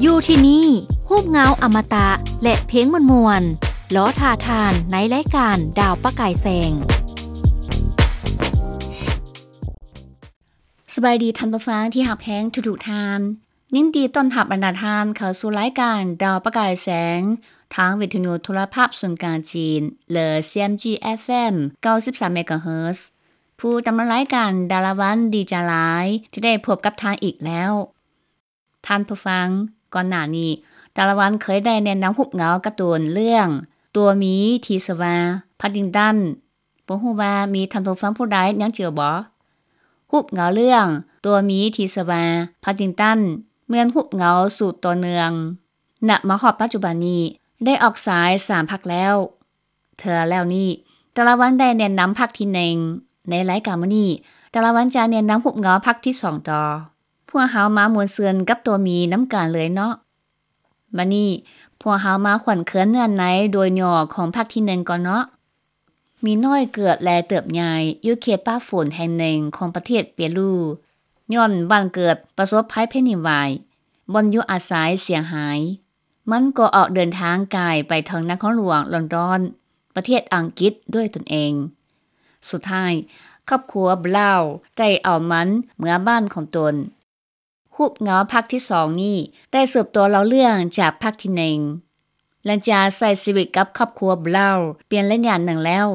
ຢູ່ທີ່ນີ້ ຮູບເງົາອະມະຕະ ແລະ ເພງມ່ວນໆ ລໍຖ້າທ່ານໃນລາຍການດາວປະກາຍແສງ. ສະບາຍດີທ່ານຜູ້ຟັງທີ່ຮັກແພງທຸກໆທ່ານ. ຍິນດີຕ້ອນຮັບບັນດາທ່ານເຂົ້າສູ່ລາຍການດາວປະກາຍແສງ ທາງວິທະຍຸໂທລະພາບສູນກາງຈີນ ຫຼື CMG FM ເກົ້າສິບສາມ MHz. ຜູ້ດຳເນີນລາຍການ ດາລາວັນ ດີຈາລາຍ ທີ່ໄດ້ພົບກັບທ່ານອີກແລ້ວ. ທ່ານຜູ້ຟັງ, ກ່ອນໜ້ານີ້ ດາລາວັນເຄີຍໄດ້ແນະນຳຮູບເງົາກາຕູນເລື່ອງ ຕົວໝີທີ່ຊື່ວ່າ Paddington. ບໍ່ຮູ້ວ່າມີທ່ານຜູ້ຟັງຜູ້ໃດຍັງຈື່ບໍ່? ຮູບເງົາເລື່ອງ ຕົວໝີທີ່ຊື່ວ່າ Paddington ແມ່ນຮູບເງົາສືບຕໍ່ເນື່ອງ. ນະມາຮອດປັດຈຸບັນນີ້ ໄດ້ອອກສາຍສາມພາກແລ້ວ. ເທື່ອແລ້ວນີ້ ດາລາວັນໄດ້ແນະນຳພາກທີໜຶ່ງ. ໃນລາຍການມື້ນີ້ ດາລາວັນຈະແນະນຳຮູບເງົາພາກທີສອງຕໍ່. ພວກເຮົາມາມ່ວນຊື່ນກັບຕົວໝີນຳກັນເລີຍເນາະ. ບັດນີ້ ພວກເຮົາມາຂວັນເຄືອນເນື້ອໃນໂດຍຫຍໍ້ຂອງພາກທີໜຶ່ງກ່ອນເນາະ. ໝີນ້ອຍເກີດ ແລະ ເຕີບໃຫຍ່ຢູ່ເຂດປ່າຝົນແຫ່ງໜຶ່ງຂອງປະເທດເປຣູ ຍ້ອນບ້ານເກີດປະສົບໄພແຜ່ນດິນໄຫວ, ບ່ອນຢູ່ອາໄສເສຍຫາຍ. ມັນກໍອອກເດີນທາງກາຍໄປເຖິງນະຄອນຫຼວງລອນດອນ, ປະເທດອັງກິດດ້ວຍຕົນເອງ. ສຸດທ້າຍ, ຄອບຄົວບຣາວໄດ້ເອົາມັນເມືອບ້ານຂອງຕົນ. ຮູບເງົາພາກທີສອງນີ້ໄດ້ສືບຕໍ່ເລົ່າເລື່ອງຈາກພາກທີໜຶ່ງ. ຫຼັງຈາກໃຊ້ຊີວິດກັບຄອບຄົວບຣາວເປັນໄລຍະໜຶ່ງແລ້ວ,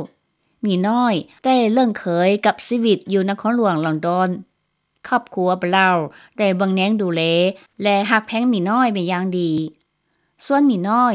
ໝີນ້ອຍໄດ້ເລີ່ມເຄີຍກັບຊີວິດຢູ່ນະຄອນຫຼວງລອນດອນ. ຄອບຄົວບຣາວໄດ້ເບິ່ງແຍງດູແລ ແລະ ຮັກແພງໝີນ້ອຍເປັນຢ່າງດີ. ສ່ວນໝີນ້ອຍ